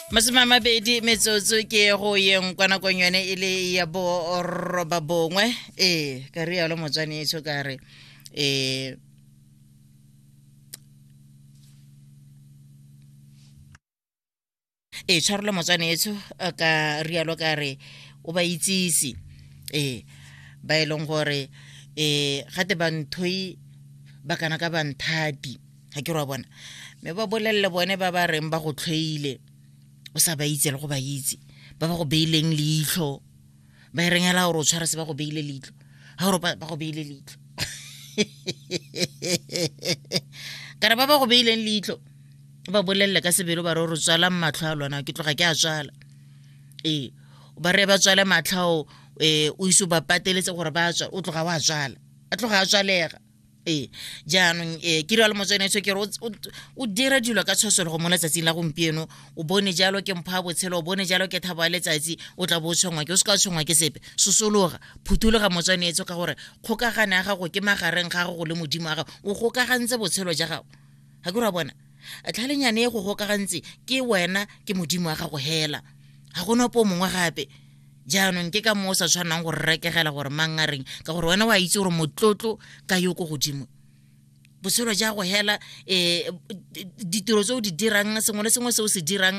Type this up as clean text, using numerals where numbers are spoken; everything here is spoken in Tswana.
20 metsotso ke go yeng kwa nakong yone e le ya boroba bongwe. Ee, ka rialo motswanetsho, ka re ee, tshwarelo motswanetsho, ka rialo ka re o ba itsise ba e leng gore gate banthoi ba kana ka banthati, ga ke re wa bona, mme ba bolelele bone ba ba reng ba go tlhoile o sa ba itse le go ba itse, ba ba go beileng leitlho, ba e reng hela gore o tshwara se ba go beile leitlho, ga gore ba go beile leitlho, kare ba ba go beileng leitlho ba bolelele ka sebelo, ba re re tswalang matlho a lona, ke tloga ke a tswala. Ee, ba re ba tswale matlho ao, o ise o ba pateletse gore ba tswa, o tloga wa tswala, a tloga a tswalega. Ee, jaanong ke rialo motswanetsho, ke re o dira dilo ka tshosologo mo letsatsing la gompieno, o bone jalo ke mpho ya botshelo, o bone jalo ke thabo ya letsatsi, o tla bo o tshwengwa ke o se ka tshwengwa ke sepe. Sosologa, phuthuloga motswanetsho, ka gore kgokagano ya gago ke magareng ga gago le Modimo wa gago, o gokagantse botshelo ja gago, ga ke re wa bona tlhalenyane e go gokagantse ke wena ke Modimo wa gago hela, ga gona ope o mongwe gape. Jaanong ke ka moo o sa tshwanang go rekegela gore mang a reng, ka gore wena o a itse gore motlotlo ka yo ko godimo botshelo ja go hela, ditiro tse o di dirang, sengwe le sengwe se o se dirang.